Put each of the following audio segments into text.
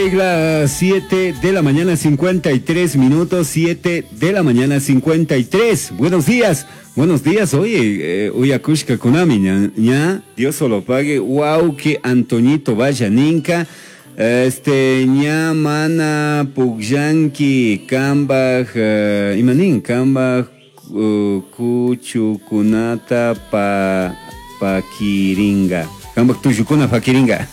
Rikunchik las 7 de la mañana 53 minutos, 7 de la mañana 53. Buenos días, buenos días. Oye, uyakushka kunami, ña, ña, Dios solo pague. Wow, que Antoñito vaya ninka. Este, ña mana pukllanki, kambaj, imanin, kambaj, kuchukunata pa, pakiringa. Kambaj tullukuna pakiringa.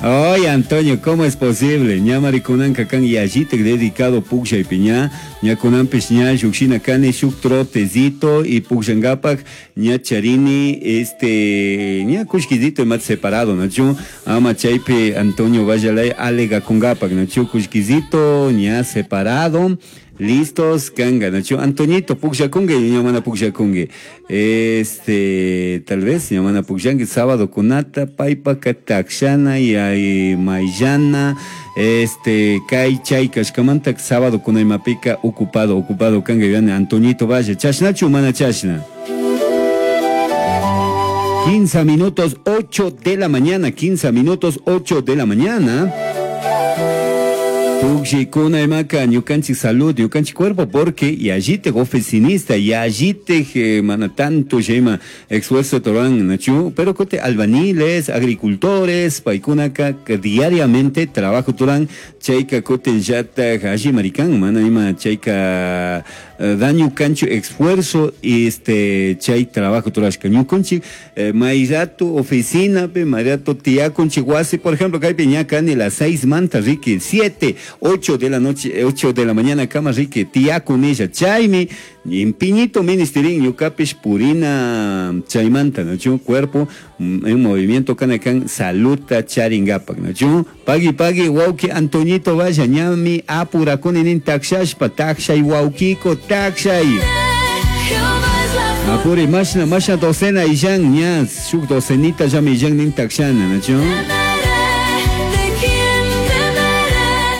Oye, Antonio, ¿cómo es posible? Ña marikunanka kan yallitak dedicado pukllaypi ña, ña kunanpish ña llukshina kani shuk trotecito y pukllankapak ña charini, este, ña kullkisito imata separado, ¿no? Ama chaypi Antonio Vallalay alegakunkapak, ¿no? Kullkisito ña separado. Listos, kanga, ¿no? Antoñito, pukllakunki, ña mana pukllakunki. Este, tal vez, ña mana pukllanki, sábado kunata, paypaka takshana, y ay mayllana, este, kay chay kashkamanta, sábado kunaymapika, ocupado, ocupado kanga, yuyani, Antoñito, vaya, chashnachu, mana chashna. 15 minutos, 8 de la mañana, 15 minutos, 8 de la mañana. Pukllikuna imaka ñukanchik salud, ñukanchik cuerpo, porque y allí te oficinista, y allí te mana tanto yema esfuerzo toran nachu, pero cote albañiles, agricultores, paykunaka que diariamente trabajo turan, chayka cote yata allí maricán, mana ima chayka daño cancho esfuerzo y este chay trabajo turashka ñukanchik mayrato oficina pe mayrato tiakunchik wasi, por ejemplo, kaypi ña kani las 6 manta riqui, 7, 8 de la noche, 8 de la mañana kama riqui, tiakunilla, chaymi impiñito ministerin ñukapish purina chaymanta, ¿no? Chu cuerpo, en movimiento kanakan saluta charingapak, ¿no? Chu pagui pagui wauki Antoñito vaya ñami apurakuni nin takshashpa takshay waukiko takshay. Apuri mashna mashna docena illan ña shuk docenita ya mi illan nin takshana, ¿no? Chu.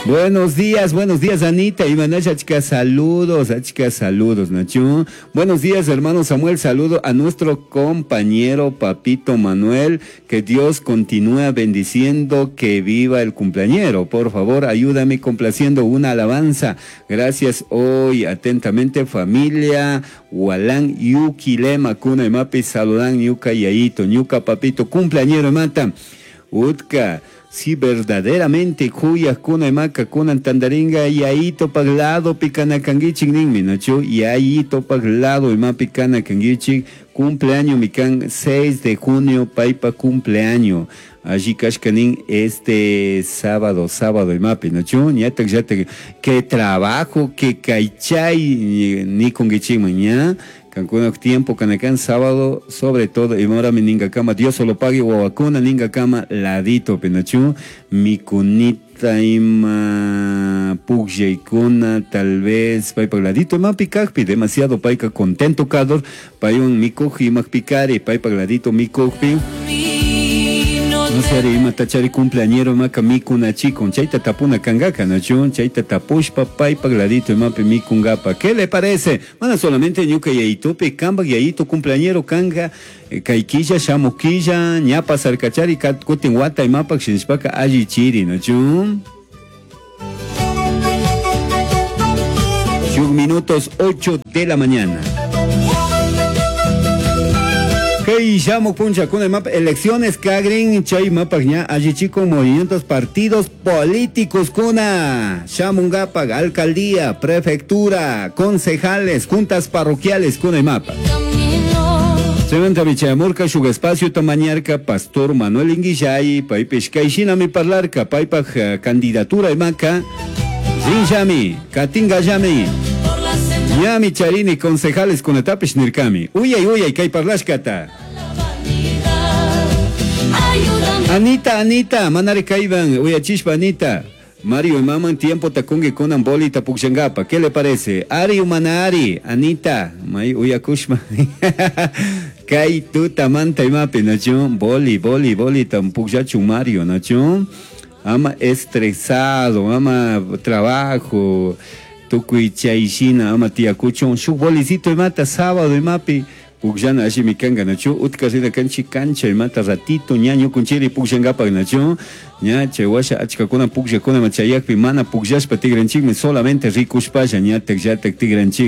Buenos días, buenos días, Anita. Imanasha, chica, saludos, chica, saludos, Nacho. Buenos días, hermano Samuel. Saludo a nuestro compañero Papito Manuel. Que Dios continúe bendiciendo, que viva el cumpleañero. Por favor, ayúdame complaciendo una alabanza. Gracias hoy, atentamente, familia Hualán, Yuquilema, Cuna y Mapi, saludan, Yuca y Aito, Ñuca, Papito, cumpleañero, mata. Utka. Si verdaderamente cuyas kuna maca kuna tandaringa y ahí topaglado picana canguichik ninmi nacho y ahí topaglado y ma picana canguichik cumpleaños mican 6 de junio paipa cumpleaños allí kashkanin este sábado, sábado y mapi nacho ñatak yatak que trabajo que caychay ni conguichik mañana Cancún tiempo, Canacán, sábado, sobre todo, y ahora mi ninga cama, Dios solo pague, guabacuna, ninga cama, ladito, penachu, mi cunita, ima, pugyeikuna, tal vez, paipa, ladito, ima, picajpi, demasiado paica, contento, cador, payun, mi coji, ima, picari, paipa, ladito, mi cojpi. No sé, ima, tachari, cumpleañero, ima, mi cuna, chico, chaita, tapuna, cangaka, nachu, chaita, tapushpa, paipa, ladito, ima, mi cungapa. ¿Qué le parece? Mana solamente ñuca yaitupe, kamba, yaito, cumpleañero, kanga, kaikilla, shamuquilla, ñapa, sarcachari, kat, kutin, wata, ima, pak, shinshpaka, alli, chiri, nachu. Shuk minutos, 8 de la mañana. Kay llamo puncha con el mapa elecciones kagrin chay mapa ña allí chico movimientos partidos políticos kuna shamungapa alcaldía prefectura concejales juntas parroquiales con el mapa. Sementa bichamurka shug espacio tamañarka pastor Manuel Inguillay paipesh kaishina mi parlarka paipa candidatura imaca rinjami katinga yami ñami charini concejales con etapish nirkami uyay uyay kay parlashkata. Anita, Anita, manare kaiban, uyachishpa Anita. Mario y maman tiempo takungi kunan bolita pukshangapa. ¿Qué le parece? Ari umana ari, Anita, may uyakushma. Kay tuta manta imapi, nacho. Boli, boli, boli, tam pukshachu Mario, nacho. Ama estresado, ama trabajo, tukuy chayshina, ama tiakuchon. Shuk bolicito imata sábado imapi. Pugllana allimi kanka nachu? Utka rina kanchik cancha imata ratito ña ñukunchiri pugllankapak nachu? Ña chay washa achkakuna pugllakuna chayakpi mana pugllashpa tigranchikmi solamente rikushpalla ñatak llatak tigranchik.